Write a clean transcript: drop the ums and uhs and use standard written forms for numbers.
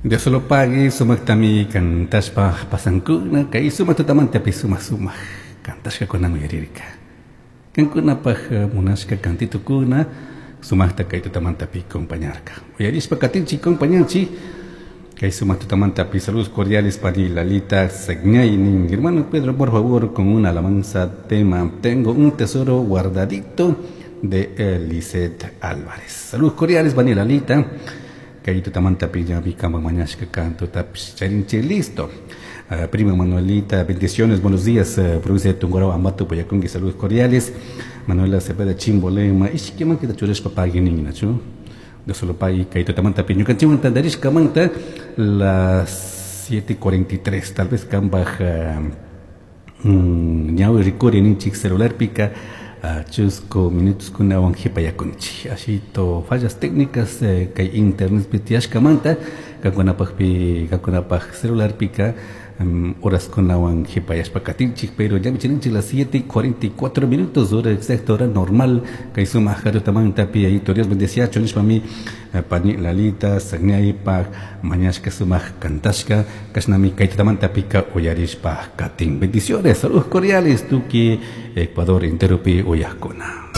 Dios lo pague, sumaqtami cantashpa pasankuna, kay sumaq tutamantapi sumaq sumaq cantashkakuna uyarirka. Kankunapaj munashka cantitukuna sumaqta kay tutamantapi acompañarka. Uyarishpa katinchik compañanchik, kay sumaq tutamantapi saludos cordiales para Lalita Sagñaynin. Hermano Pedro, por favor, con una alabanza tema, tengo un tesoro guardadito de Lisette Álvarez. Saludos cordiales, pani Lalita. Kay tutamantapi ñami kanpak mañashka cantotapish charinchik listo. Prima Manuelita, bendiciones, buenos días, provincia de Tungurahua, Ambato, Payacungui, saludos cordiales. Manuela Cepeda, Chimbolema, ishkiman kita churashpa pagui nin, nachu? Dios lo pague, kay tutamantapi ñukanchikwan tantarishkamanta las 7:43, tal vez kanpaj, ñawi rikuri ninchik celularpika, chusku minutos kunawan jipayakunchik. Ashito fallas técnicas, kay internet tiyashkamanta, kankunapajpi, kankunapaj celularpika, horas kunawan jipayashpa katinchik, pero ya michininchik las 7:44 minutos, hora exacta, hora normal, kay sumaq tutamantapi, ayito Dios bendeciacho, nishpami, pani Lalita, Sagñaypaj, mañashka sumaq kantashka, kashnami kay tutamantapika uyarishpa katin. Bendiciones, saludos cordiales, tuki Ecuador enteropi uyajkuna.